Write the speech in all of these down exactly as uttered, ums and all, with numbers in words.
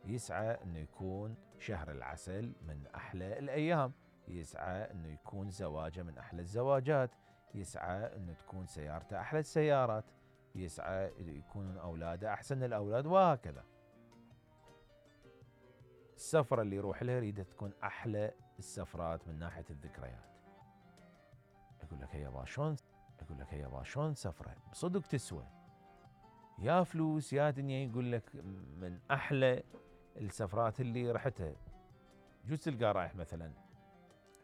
يسعى انه يكون شهر العسل من احلى الايام، يسعى انه يكون زواجه من احلى الزواجات، يسعى انه تكون سيارته احلى السيارات، يسعى يكون اولاده احسن الاولاد، وهكذا. السفرة اللي يروح لها يريدها تكون احلى السفرات من ناحية الذكريات. يقول لك يابا شلون يقول لك يابا شلون سفرة بصدق تسوى يا فلوس يا دنيا. يقول لك من احلى السفرات اللي رحتها، جوز تلقى رايح مثلا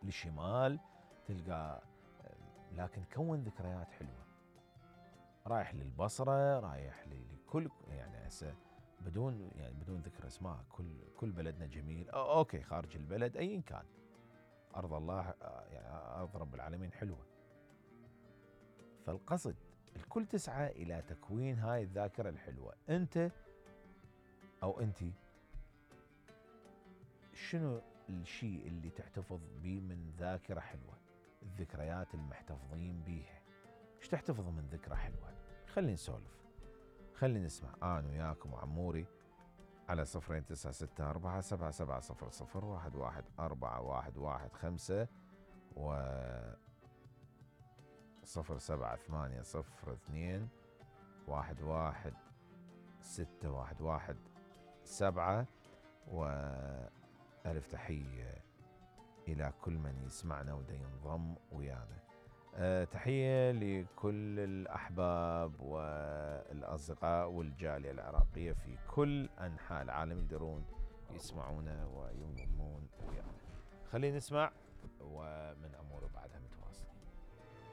للشمال تلقى، لكن كون ذكريات حلوة. رايح للبصرة، رايح لكل يعني هسه بدون يعني بدون ذكر اسماء، كل كل بلدنا جميل. اوكي خارج البلد ايا كان، ارض الله يعني ارض رب العالمين حلوة. فالقصد الكل تسعى الى تكوين هاي الذاكرة الحلوة. انت او انتي شنو الشيء اللي تحتفظ به من ذاكرة حلوة؟ الذكريات المحتفظين بيها، ايش تحتفظ من ذكرى حلوة؟ خلينا نسولف، خلينا نسمع انا وياكم وعموري على صفرين تسعة ستة أربعة سبعة سبعة صفر صفر واحد واحد أربعة واحد واحد خمسة و صفر سبعة ثمانية صفر اثنين واحد واحد ستة واحد واحد سبعة. وألف تحية إلى كل من يسمعنا ودا ينضم ويانا. أه تحية لكل الأحباب والأصدقاء والجالية العراقية في كل أنحاء العالم يقدرون يسمعونا وينضمون ويانا. خلينا نسمع ومن أمور بعدها.